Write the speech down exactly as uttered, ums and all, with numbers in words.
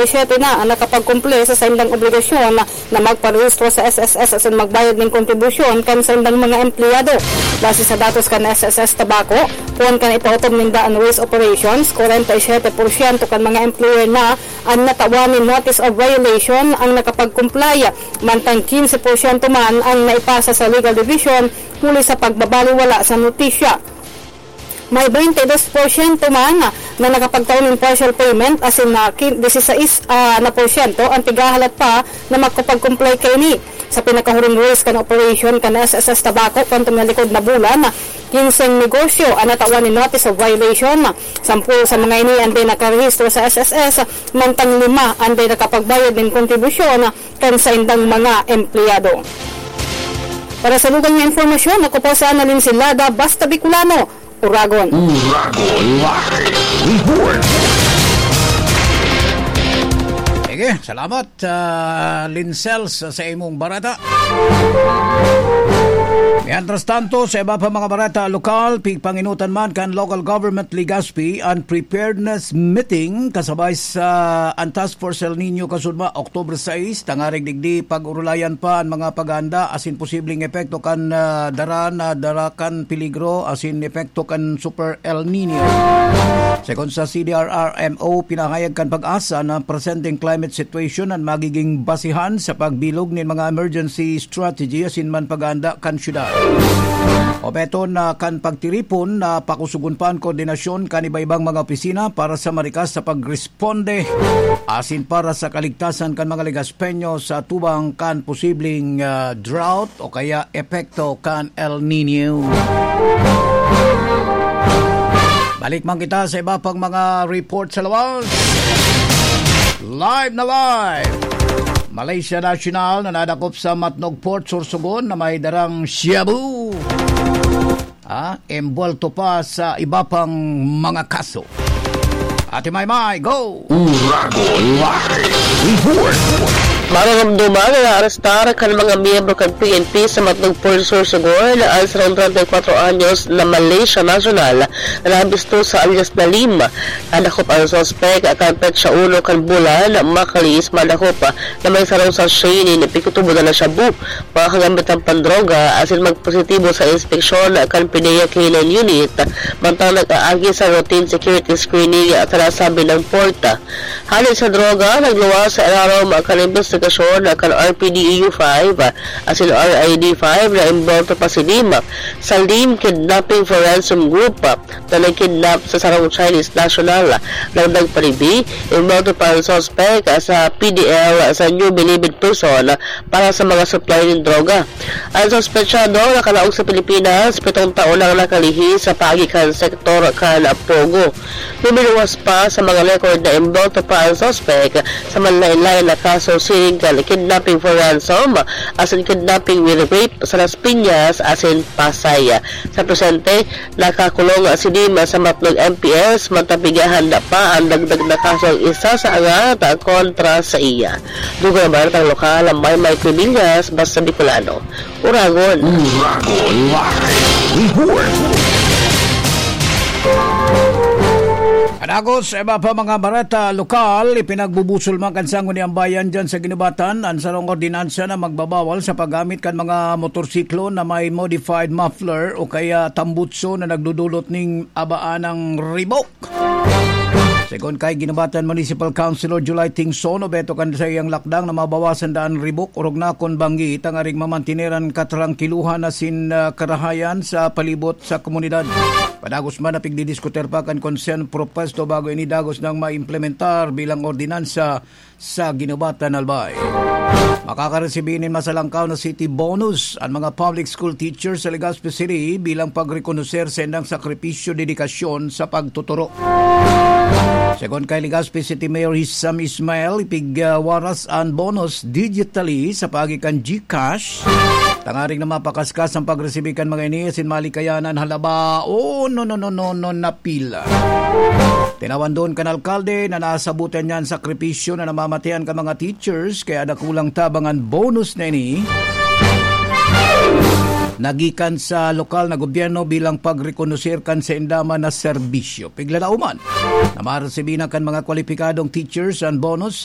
siyete na ang nakapagkumple sa saindang obligasyon na magparehistro sa S S S asin magbayad nin kontribusyon kan saindang mga empleyado. Base sa datos kan S S S Tabaco, poon kan ipautob ninda an race operations, kwarenta y siyete porsyento kan mga employer na an natawan nin notice of violation ang nakapagkumplay, mantang kinse porsyento man ang naipasa sa legal division huli sa pagbabaliwala sa notisya. May baynte dos porsyento man na nakapagtao nin partial payment, asin na kin-, disisais, ah, na porsyento ang tighahalat pa na makapag-comply kaini. Sa pinakahuring rules kan operation kan S S S Tabaco kan tumalikod na bulan, kinseng negosyo an natawan nin notice of violation. Sampol sa mga ini an di nakarehistro sa S S S, mantang lima an di nakapagbayad nin kontribusyon kan saindang mga empleyado. Para sa lugan nga impormasyon, ako po si Annalyn Silada, Basta Bicolano, Uragon. Uragon Live Report. Sige, salamat, ah, Linsel, sa, sa imong bareta. Mientras tanto, sa iba pa mga bareta lokal, pigpanginutan man kan Local Government Legazpi an preparedness meeting kasabay sa an Task Force El Niño kasunod, October sais, tangarig digdi pag-urulayan pa an mga paghahanda asin posibleng epekto kan, ah, dara na dara kan peligro asin epekto kan Super El Niño. Segun sa C D R R M O, pinahayag kan PAGASA na presenteng climate situation an magiging basihan sa pagbilog nin mga emergency strategy asin man paghahanda kan syudad. Obeton na kan pagtiripon na pakusugon pa an koordinasyon kan iba-ibang mga opisina para sa marikas sa pagresponde asin para sa kaligtasan kan mga Legazpeño sa atubang kan posibleng, ah, drought o kaya epekto kan El Niño. Balik man kita sa iba pang mga report sa lawas. Live na live! Malaysia National na nadakop sa Matnog Port, Sorsogon na may darang shabu. Ah, embuwelto pa sa iba pang mga kaso. Ate Maymay, go! Uragon Live Report. Mararamdaman na naarestar kan mga miyembro kan P N P sa Matnog Port, Sorsogon, ang sarong treinta y cuatro anyos na Malaysia national na nabisto sa alias Nalim. Nadakop ang suspek kan petsa uno kan bulan, makaliis madakop na may sarong sachet nin pigtutubodan na shabu, mga kagamitan pandroga, asin magpositibo sa inspeksyon kan PDEA K nine Unit, mantang nag-aagi sa routine security screening sa nasabing port. Hale sa droga, nagluwas sa ilarom kan imbestigasyon kan R P D E U five asin R I D five na embuwelto pa si Lim sa Lim Kidnapping for Ransom Group na nagkidnap sa sarong Chinese national. Dagdag pa digdi, embuwelto pa ang suspek sa P D L sa New Bilibid Prison para sa mga supply nin droga. Ang suspetsado nakalaog sa Pilipinas, pitong taon nang nakalihis sa paagi kan sektor kan Pogo. Luminuwas pa sa mga record na embuwelto pa ang suspek sa manlaen-laen na kaso, siring kan kidnapping for ransom asin kidnapping with rape sa Las Piñas asin Pasay. Sa presente, nakakulong si Lim sa Matnog M P S, mantang pighahanda pa ang dagdag na kasong isasaangat kontra saiya. Dugang baretang lokal, Maymay Cubillas, Basta Bicolano. Uragon. Uragon Live Report. Padagos sa iba pa mga bareta lokal, ipinagbubusol man kan Sangguniang Bayan dyan sa Guinobatan an sarong ordinansa na magbabawal sa paggamit kan mga motorsiklo na may modified muffler o kaya tambutso na nagdudulot ning abaanang ribok. Segun kay Guinobatan Municipal Councilor July Tingson, obheto kan saiyang lakdang na mabawasan daa an ribok, orog na kun banggi, tangaring mamantener an katrangkiluhan asin, ah, karahayan sa palibot sa komunidad. Padagos man na pigdidiskutir pa kan Konseho Propuesto bago ini dagos nang maimplementar bilang ordinansa sa Guinobatan, Albay. Makakaresibi nin masalangkaw na city bonus an mga public school teachers sa Legazpi City bilang pagrekonoser sa indang sakripisyo, dedikasyon sa pagtuturo. Segun kay Legazpi City Mayor Hisham Ismail, ipigwaras an bonus digitally sa paagi kan GCash, tangaring na mapakaskas ang pagresibi kan mga ini asin malikayan an halaba o no, no, no, no, no, na pila. Tinawan duon kan alkalde na nasabotan niya an sakripisyo na namamatean kan mga teachers, kaya dakulang tabang an bonus na ini nagikan sa lokal na gobyerno bilang pagrekonoser kan sainda man na serbisyo. Piglalauman na maresibi na kan mga kwalipikadong teachers an bonus